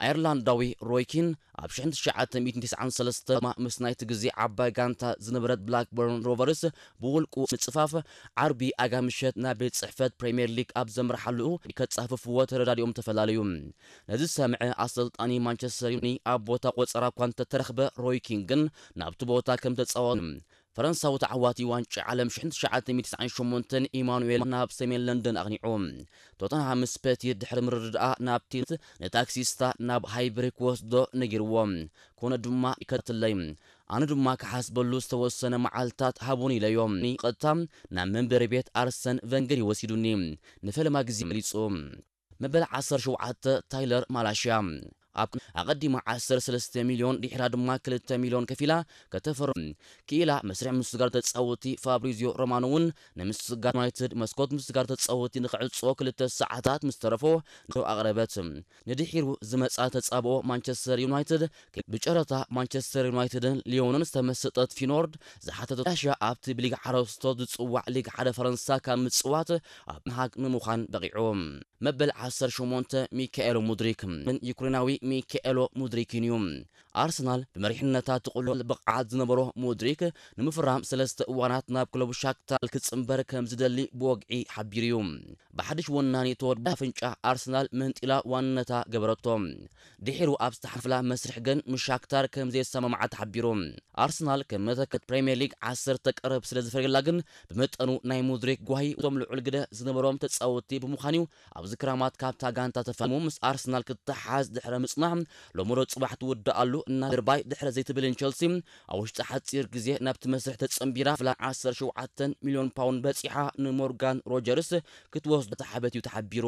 ኣየርላንዳዊ ሮይ ኪን ኣብ ሽሕን ትሽዓተ ሚእትን ተስዓን ሰለስተን ምስ ናይቲ ግዜ ዓባይ ጋንታ ዝነበረት ብላክበርን ሮቨርስ ብውልቁ ምጽፋፍ፣ ዓርቢ ኣጋ ምሸት ናብ ቤት ጽሕፈት ፕሪምየር ሊግ ኣብ ዘምርሓሉ ከጻፍፍዎ ተረዳዲኦም ተፈላለዩ። ነዚ ዝሰምዐ ኣሰልጣኒ ማንቸስተር ዩኒ ኣብ ቦታ ቆጸራ እኳ እንተተረኽበ፣ ሮይ ኪን ግን ናብቲ ቦታ ከም ተጻወተ ፈረንሳዊ ተዓዋቲ ዋንጫ ዓለም ሽሕን ትሽዓተ ሚእትን ተስዓን ሸሞንተን ኢማኑኤል ናብ ሰሜን ለንደን ኣቕኒዑ። ቶተንሃም ምስ ፐቲ ድሕሪ ምርድኣ ናብ ቲልት ንታክሲስታ ናብ ሃይብሪ ክወስዶ ነጊርዎ። ኮነ ድማ ይከትለይ፣ ኣነ ድማ ክሓስበሉ ዝተወሰነ መዓልታት ሃቡን ኢለዮ። ቀጥታ ናብ መንበሪ ቤት ኣርሰን ቨንገር ይወሲዱኒ። ንፈለማ ግዜ መሊጹ። መበል ዓሰርተ ሸውዓተ ታይለር ማላሽያ ኣብ ኣቐዲማ ዓሰርተ ሰለስተ ሚልዮን ድሕራ ድማ ክልተ ሚልዮን ከፊላ ከተፈርም ክኢላ መስርሕ ምስጋር ተጻወቲ ፋብሪዚዮ ሮማኖ እውን ንምስጋር ዩናይትድ መስኮት ምስጋር ተጻወቲ ንክዕጾ ክልተ ሰዓታት ምስ ተረፎ ንሮ ኣቕረበት። ንድሒሩ ዝመጻ ተጻብኦ ማንቸስተር ዩናይትድ ብጨረታ ማንቸስተር ዩናይትድን ሊዮንን ዝተመሰጠት ፊኖርድ ዝሓተቶ ራሽያ ኣብቲ ብሊግ ሓረስቶት ዝጽዋዕ ሊግ ሓደ ፈረንሳ ካብ ምጽዋት ኣብ መሃግ ንምዃን በቒዑ። መበል ዓሰርተ ሸሞንተ ሚካኤሎ ሙድሪክ ምን ዩክሬናዊ ሚካኤሎ ሙድሪክን እዩ። ኣርሰናል ብመሪሕነታ ትቕሎ ብቕዓት ዝነበሮ ሙድሪክ ንምፍራም ሰለስተ እዋናት ናብ ክለቡ ሻክታር ክጽንበር ከም ዝደሊ ብወግዒ ሓቢሩ እዩ። ብሓድሽ ወናኒ ተወዳ ኣፍንጫ ኣርሰናል መንጢላ ዋንነታ ገበረቶ። ድሒሩ ኣብ ዝተሓፍላ መስርሕ ግን ምስ ሻክታር ከም ዘየሰማምዓ ተሓቢሩ። ኣርሰናል ከም መተከት ፕሪምየር ሊግ ዓሰርተ ቀረብ ስለ ዝፈርየላ ግን ብመጠኑ ናይ ሙድሪክ ጓሂ እቶም ልዑል ግደ ዝነበሮም ተጻወቲ ብምዃን እዩ። ኣብዚ ክራማት ካብታ ጋንታ ተፋሙ ምስ ኣርሰናል ክትሓዝ ድሕረ ምጽናሕ ሎምሮ ጽባሕ ትውድኣሉ እና ድርባይ ድሕረ ዘይትብልን ቸልሲ ኣብ ውሽጢ ሓጺር ግዜ ናብቲ መስርሕ ተጸንቢራ ፍላ ዓሰርተ ሸውዓተ ሚልዮን ፓውንድ በጺሓ ንሞርጋን ሮጀርስ ክትወስዶ ተሓበት እዩ ተሓቢሩ።